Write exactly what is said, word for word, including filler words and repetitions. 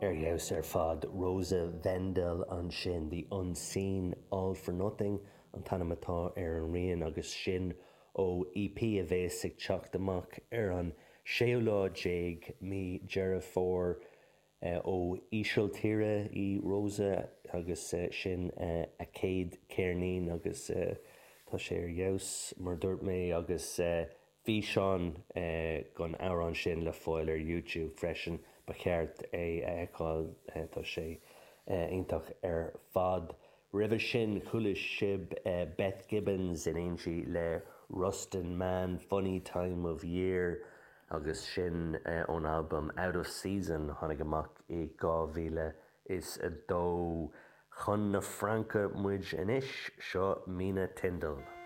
Ar fheabhas ar fad Rosa Vendel ansin the Unseen All for Nothing an t-ainm atá ar an rian agus sin ó EP a bheas ag teacht amach ar an séú lá déag mí Deireadh Fómhair eh, ó Ísiltír í Rosa agus eh, sin eh, a céad ceirnín agus tá sé ar fheabhas mar dúirt mé agus físeán don amhrán sin le fáil ar YouTube freisin ba cheart é a fheiceáil tá sé iontach ar fad. Roimhe sin chuala sibh Beth Gibbons in éindí le Rustin Man Funny Time of Year agus sin ón album Out of Season tháinig amach i dhá mhíle is a dó. Chun na Fraince muid anois seo Mina Tindle.